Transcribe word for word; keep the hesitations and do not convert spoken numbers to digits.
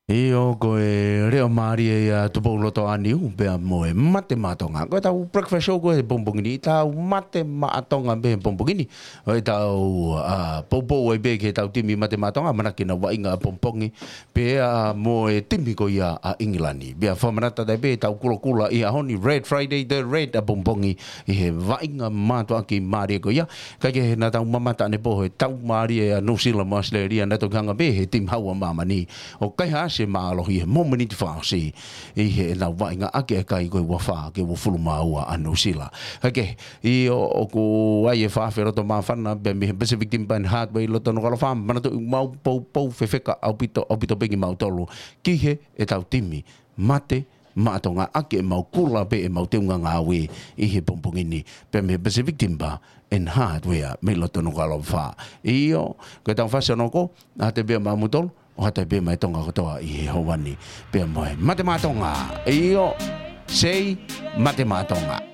ʻIo, ko e leʻo mālie ia Tupou Loto ʻa Niu, pea mo e Mate Maʻa Tonga. Ko ʻetau breakfast show ko ē he pongipongi ni, ʻetau Mate Maʻa Tonga pē he pongipongi ni. ʻO ʻetau, ʻa, poupou ai pē ki heʻetau timi Mate Maʻa Tonga, ʻamanaki ke nau vaʻinga ʻapongipongi, pea mo e timi ko ia ʻa ʻIngilani. Pea fakamanatu atu pē ʻetau kulokula ʻi he ʻaho ni, Red Friday, the Red ʻapongipongi, ʻi he vaʻinga mātuʻaki mālie ko ia. Kae kehe naʻa tau mamata ʻanepō he tau mālie ʻa Nuʻusila mo ʻAositelēlia, naʻe toki hanga pē he timi hau ʻa māmani ʻo kaihaʻasi e mālohi he momeniti fakaʻosi ʻi heʻenau vaʻinga ʻaki e kai ko e ua fā ki he uofulu mā ua ʻa Nuʻusila. Kae kehe, ʻio, ʻoku ʻi ai e fakaʻafe loto māfana pē mei he Pacific Timber and Hardware ʻi loto Nukuʻalofa, manatuʻi ʻoku mau poupou fefeka ʻaupito, ʻaupito pē kimautolu ki heʻetau timi Mate Maʻa Tonga ʻaki ʻemau kula pē ʻemau teunga ngāue ʻi he pongipongi ni, pea mei he Pacific Timber and Hardware mei loto Nukuʻalofa. ʻIo, ko ʻetau fasi ʻanepō, ʻoatu pē maʻamoutolu, ʻoatu pē maʻa e Tonga kotoa ʻi he houa ni, pea mo e Mate Maʻa Tonga. ʻIo, say Mate Maʻa Tonga.